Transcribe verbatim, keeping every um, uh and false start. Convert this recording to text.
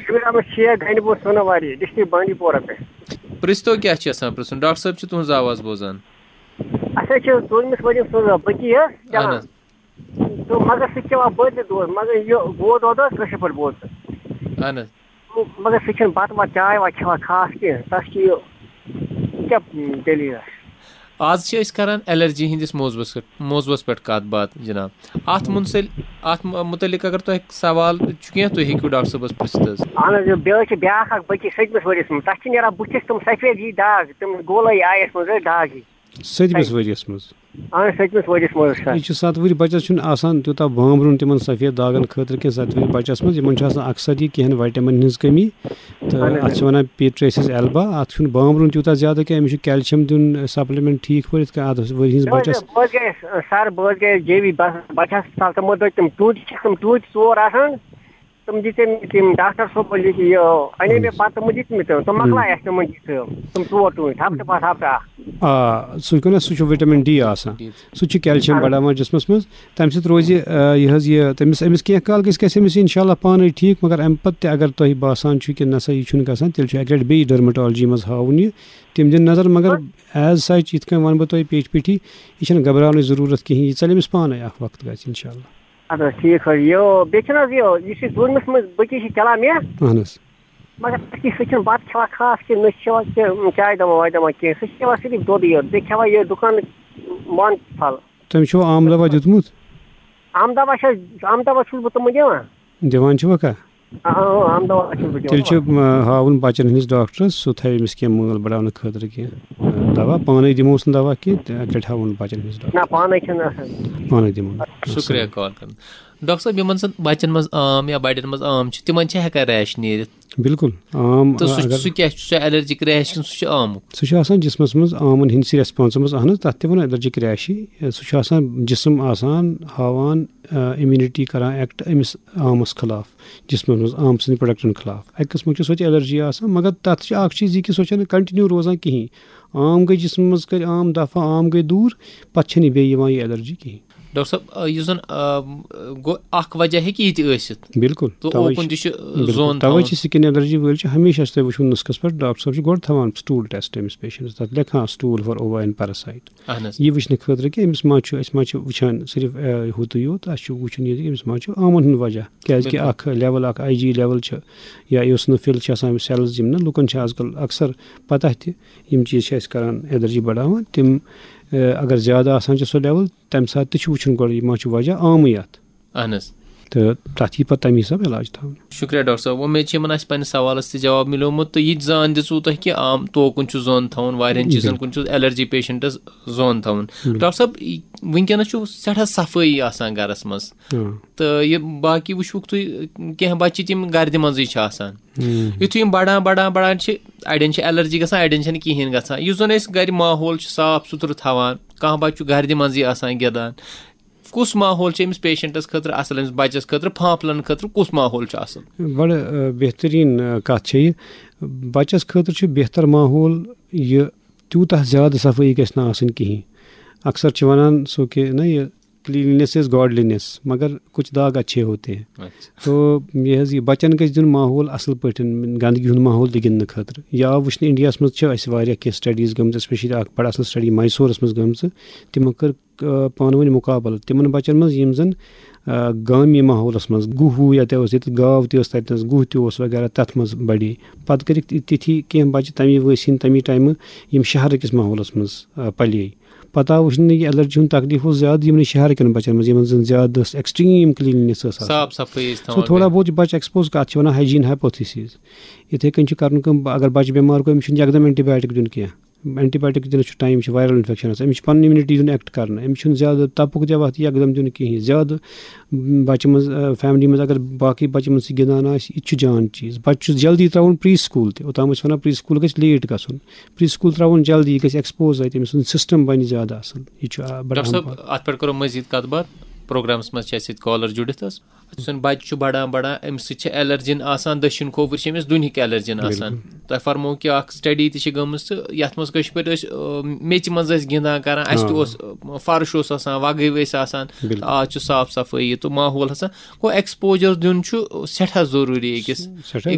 Shabbir Ahmad Sheikh, گنڈِ boat Sonawari, district بانڈی پورہ پٮ۪ٹھ۔ پرٛژھتو کیٛاہ چھِ یژھان پرٛژھُن؟ ڈاکٹر صٲب چھِ تُہٕنٛز آواز بوزان۔ اَسہِ حظ چھِ ژوٗرمِس ؤریَس منٛز بٔچی حظ اہن چلان۔ حظ۔ تہٕ مگر سُہ چھِ کھٮ۪وان بٔرنہِ دود، مگر یہِ گوٚو دۄد حظ کٲشِر پٲٹھۍ بوز ژٕ۔ اہن حظ۔ مگر سُہ چھِنہٕ بَتہٕ وَتہٕ چاے واے کھٮ۪وان خاص کینٛہہ، تَس چھِ یہِ، یہِ کیٛاہ دٔلیٖل اَسہِ؟ آز چھِ أسۍ کران الرجی ہٕنٛدِس موضوعس پٮ۪ٹھ، موضوعس پٮ۪ٹھ کتھ باتھ جناب۔ اتھ منسل-، اتھ م-، متعلق اگر تۄہہِ سوال چھُ کینٛہہ، تُہۍ ہیٚکِو ڈاکٹر صٲبس پرژھِتھ حظ۔ اہن حظ، یہِ بیٚیہِ حظ چھِ بیٛاکھ اکھ بٔچی سٔتمِس ؤرِیَس منٛز، تَتھ چھِ نیران بٕتھِس تِم سفید ہی داغ، تِم گولٲیی آیَس منٛز حظ داغ ہی۔ سٔتمِس ؤرِیَس منٛز؟ اہن حظ، سٔتمِس ؤرِیَس منٛز حظ سر۔ یہِ چھُ ستھ ؤری بچس چھُنہٕ آسان تیوٗتاہ بامبرُن تِمن سفید داغن خٲطرٕ کینٛہہ، ستھ ؤری بچس منٛز۔ یِمن چھُ آسان اکثر یہِ کینٛہہ وٹامن ہٕنٛز کٔمی۔ تہٕ اہن حظ، اَتھ چھِ وَنان پی ٹریسِس ایلبا۔ اَتھ چھُنہٕ بامبرُن تیوٗتاہ زیادٕ کینٛہہ، أمِس چھُ کیلشیم دیُن سپلمنٹ ٹھیٖک پٲٹھۍ، یِتھ کٔنۍ اَتھ ؤرۍ ہٕنٛدِس بہٕ حظ بچس۔ بہٕ حظ گٔیَس، سر، بہٕ حظ گٔیَس جے وی بس-، بچس ہسپتال، تِمو دوٚپ تِم ٹوٗنٛتہِ چھِ، تِم ٹوٗنٛتہِ ژور آسان، تِم دِتۍ تٔمۍ، تِم ڈاکٹر صٲبو لیکھِ یہِ، اَنے مےٚ پتہٕ تِمو دِتۍ مٕتۍ تِم، تِم مۄکلایہِ اَسہِ تِمن دِتھ تِم، تِم ژور ٹوٗنٛتہِ، ہفتہٕ پتہٕ ہفتہٕ اکھ۔ آ، سُہ چھُ کَران، سُہ چھُ وِٹامِن ڈی آسان، ٹھیٖک۔ سُہ چھُ کیلشیم آ۔ بڑاوان جسمس منٛز، تَمہِ سۭتۍ روزِ، آ، یہِ حظ یہِ تٔمِس، أمِس کینٛہہ کال گژھِ، گژھِ أمِس انشاءاللہ پانے ٹھیٖک، مگر اَمہِ پتہٕ تہِ اگر تۄہہِ باسان چھُ کہِ نسا یہِ چھُنہٕ گژھان، تیٚلہِ چھُ اَکہِ لٹہِ بیٚیہِ ڈرمٹالجی منٛز ہاوُن یہِ، تِم دِن نظر، مگر ایز سچ یِتھ کٔنۍ وَنہٕ بہٕ تۄہہِ پیٹھۍ پیٹھی، یہِ چھَنہٕ گھبراونٕچ ضروٗرت کِہیٖنۍ، یہِ ژَلہِ أمِس پانے اَکھ وقت گژھِ انشاءاللہ۔ اَدٕ حظ ٹھیٖک حظ، یہِ بیٚیہِ چھُنہٕ حظ یہِ، یُس یہِ ژوٗرمِس منٛز بٔچی چھِ چَلان مےٚ، اہن حظ۔ مگر سُہ چھُنہٕ بَتہٕ کھٮ۪وان خاص کینٛہہ، نہ چھِ کھٮ۪وان کینٛہہ، چاے دَما واے دَما کینٛہہ، سُہ چھِ کھٮ۪وان صرف دۄدٕے یوت، بیٚیہِ کھٮ۪وان یہِ دُکانٕکۍ بانہٕ پھل۔ تٔمِس چھُو آم دوا دیُتمُت؟ آم دوا چھِ حظ، آم دوا چھُس بہٕ تِمَن دِوان۔ دِوان چھِوکھا؟ آ، آ، آم دوا چھُس بہٕ دِوان۔ تیٚلہِ چھُ، آ، ہاوُن بَچَن ہٕنٛدِس ڈاکٹرَس، سُہ تھاوِ أمِس کینٛہہ مٲل بَڑاونہٕ خٲطرٕ کینٛہہ، آ، دوا۔ پانَے دِموس نہٕ دوا کینٛہہ، تہٕ اَکہِ لَٹہِ ہاوُن بَچَن ہٕنٛدِس ڈاکٹرَس۔ نہ، پانَے چھِنہٕ آسان۔ پانَے دِمو۔ شُکریہ کال کَرُن۔ ڈاکٹر صٲب، یِمَن زَن بَچَن منٛز آم یا بَڑٮ۪ن منٛز آم چھِ، تِمَن چھِ ہٮ۪کان ریش نیٖرِتھ؟ بِلکُل، آم، تہٕ سُہ، اگر سُہ کیٛاہ چھُ؟ سُہ ایلرجِک ریش کِنہٕ سُہ چھُ آمُک؟ سُہ چھُ آسان جِسمَس منٛز آمَن ہٕنٛدسٕے ریسپانسَس منٛز، اہن حظ، تَتھ تہِ وَنو ایلرجِک ریشی۔ سُہ چھُ آسان جِسم آسان ہاوان، آ، اِمیوٗنِٹی کَران ایکٹ أمِس آمَس خٕلاف، جِسمَس منٛز آمہٕ سٕنٛدِ پروڈکٹَن خٕلاف۔ اَکہِ قٕسمٕکۍ چھِ سۄ تہِ ایلرجی آسان، مگر تَتھ چھِ اَکھ چیٖز یہِ کہِ سۄ چھَنہٕ کَنٹِنیوٗ روزان کِہیٖنۍ۔ آم گٔے جِسمہٕ منٛز، کٔرۍ آم دَفع، آم گٔے دوٗر، پَتہٕ چھَنہٕ یہِ بیٚیہِ یِوان یہِ ایلرجی کِہیٖنۍ۔ ڈاکٹر صٲب، آ، یُس زَن، آ، گوٚو اَکھ وجہ ہیٚکہِ یہِ تہِ ٲسِتھ۔ بِلکُل، تہٕ تَوَے اوکُن چھِ، تہِ چھُ، آ، بِلکُل، زون تَوَے تھاوان۔ چھِ سِکِن ایلرجی وٲلۍ چھِ ہمیشہِ اَسہِ تۄہہِ وٕچھُن نُسخَس پٮ۪ٹھ، ڈاکٹر صٲب چھِ گۄڈٕ تھاوان سٹوٗل ٹیسٹ أمِس پیشنٹَس، تَتھ لیکھان stool for Iowa and parasite. اہن حظ۔ یہِ وٕچھنہٕ خٲطرٕ کہِ أمِس ما چھُ، أسۍ ما چھِ وٕچھان صرف، آ، ہُتُے یوت، اَسہِ چھُ وٕچھُن یہِ کہِ أمِس ما چھُ آمَن ہُنٛد وجہ، کیٛازِکہِ بِلکُل۔ اَکھ لیول، اَکھ آی جی لیول چھِ یا eosinophil چھِ آسان أمِس سیلٕز، یِم نہ لُکَن چھِ آز کل اکثر پتہ تہِ، یِم چیٖز چھِ اَسہِ کران ایلرجی بڑاوان۔ تِم، آ، اگر زیادٕ آسان چھِ سۄ لیول، تَمہِ ساتہٕ تہِ چھُ وٕچھُن گۄڈٕ یہِ ما چھُ وجہ آمٕے اَتھ۔ اہن حظ۔ تہٕ تَتھ یی پتہٕ تَمہِ حساب علاج تھاونہٕ۔ شُکریہ ڈاکٹر صٲب، وۄمید چھِ یِمن آسہِ پننِس سوالس تہِ جواب مِلیومُت، تہٕ یہِ تہِ زان دِژوٕ تۄہہِ کہِ آم توکُن چھُ زون تھاوُن، واریاہن چیٖزن بِلکُل۔ کُن چھُ ایلرجی پیشنٹس زون تھاوُن۔ بِلکُل۔ ڈاکٹر صٲب، یہِ، وٕنکیٚنس چھُ سٮ۪ٹھاہ صفٲیی آسان گرس منٛز۔ آ۔ تہٕ یہِ باقٕے وٕچھوُکھ تُہۍ، کینٛہہ بچہِ تِم گردِ منٛزٕے چھِ آسان۔ ہُم۔ یُتھُے یِم بڑان، بڑان، بڑان چھِ، اڑٮ۪ن چھِ ایلرجی گژھان، اڑٮ۪ن چھنہٕ کِہیٖنۍ گژھان۔ یُس زن أسۍ گرِ ماحول چھِ صاف سُتھرٕ تھاوان، کانٛہہ بچہِ چھُ گردِ منٛزٕے آسان گِنٛدان، کُس ماحول چھُ أمِس پیشنٹس خٲطرٕ اصل، أمِس بچس خٲطرٕ، پھانپھلن خٲطرٕ کُس ماحول چھُ اصل؟ بڑٕ، آ، بہترین، آ، کتھ چھےٚ یہِ۔ بچس خٲطرٕ چھُ بہتر ماحول یہِ، تیوٗتاہ زیادٕ صفٲیی گژھِ نہٕ آسٕنۍ کِہیٖنۍ۔ اکثر چھِ ونان سُہ کہِ نہ، یہِ کلینلینس از گاڈلینس، مگر کچھ داغ اچھے ہوتے ہیں۔ اچھا۔ تو یہِ حظ، یہِ بچن گژھِ دیُن ماحول اصل پٲٹھۍ، گندگی ہُنٛد ماحول تہِ گِنٛدنہٕ خٲطرٕ۔ یا وٕچھنہٕ انڈیاہس منٛز چھِ اَسہِ واریاہ کینٛہہ سٹڈیٖز گٔمژٕ، especially اکھ بڑٕ اصل سٹڈی میسورس منٛز گٔمژٕ۔ تِمو کٔر، آ، پانہٕ ؤنۍ مُقابلہٕ تِمن بچن منٛز، یِم زن، آ، گامی ماحولس منٛز، گُہہ وُہ یتہِ اوس، ییٚتہِ گاو تہِ ٲس تتہِ نس، گُہہ تہِ اوس وغیرہ، تتھ منٛز بڑے۔ پتہٕ کٔرِکھ تہِ-، تِتھی کینٛہہ بچہِ تمی وٲسۍ ہٕنٛدۍ تمی ٹایمہٕ، یِم شہرٕ کِس ماحولس منٛز، آ، پلے۔ پتہٕ آو وٕچھنہٕ یہِ ایلرجی ہُنٛد تکلیٖف اوس زیادٕ یِمنٕے شہرٕ کٮ۪ن بچن منٛز، یِمن زن زیادٕ ٲس ایکسٹریم کلینلینس ٲس آسان۔ صاف صفٲیی ٲسۍ سُہ تھاوان۔ تھوڑا بہت چھِ بچہِ ایکسپوز، کتھ چھِ ونان ہائیجین ہائپوتھیسز۔ یِتھے کٔنۍ چھِ کرُن کٲم، اگر بچہِ بٮ۪مار گوٚو، أمِس چھُنہٕ یکدم اینٹی بایوٹک دیُن کینٛہہ۔ اینٹی بایوٹک دِنس چھُ ٹایم، چھُ وائرل انفیکشن آسان، أمِس چھُ پنُن امیونٹی دیُن ایکٹ کرنہٕ، أمِس چھُنہٕ زیادٕ تپُک دِوان یکدم دیُن کِہیٖنۍ۔ زیادٕ بچہِ منٛز، آ، فیملی منٛز اگر باقٕے بچہِ منٛز تہِ گِنٛدان آسہِ، یہِ تہِ چھُ جان چیٖز۔ بچہِ چھُ جلدی ترٛاوُن پری سکول تہِ، اوٚتام ٲسۍ ونان پری سکول گژھِ لیٹ گژھُن، پری سکول ترٛاوُن جلدی، یہِ گژھِ ایکسپوز اَتہِ، أمۍ سُنٛد سسٹم بنہِ زیادٕ اصل۔ یہِ چھُ، آ، بڑٕ ڈاکٹر صٲب، اہم پہم۔ اتھ پٮ۪ٹھ کرو مزید کتھ باتھ، پروگرامس منٛز چھِ اَسہِ سۭتۍ کالر جُڑِتھ حظ۔ یُس زن بچہِ چھُ بڑان بڑان، أمِس سۭتۍ چھِ ایلرجین آسان، دٔچھِنۍ کھووُر چھِ أمِس دُنہِکۍ ایلرجین آسان۔ بِلکُل۔ تۄہہِ فرموو کہِ اکھ سٹڈی تہِ چھِ گٔمٕژ، تہٕ یتھ منٛز کٲشِر پٲٹھۍ أسۍ، آ، میٚژِ منٛز ٲسۍ گِنٛدان کران، اَسہِ تہِ آ۔ اوس، آ، فرٕش اوس آسان، وگہٕ ٲسۍ آسان، بِلکُل۔ تہٕ آز چھُ صاف صفٲیی تہٕ ماحول آسان۔ گوٚو ایکسپوجر دیُن چھُ سٮ۪ٹھاہ ضروٗری أکِس۔ سٮ۪ٹھاہ یہِ گژھِ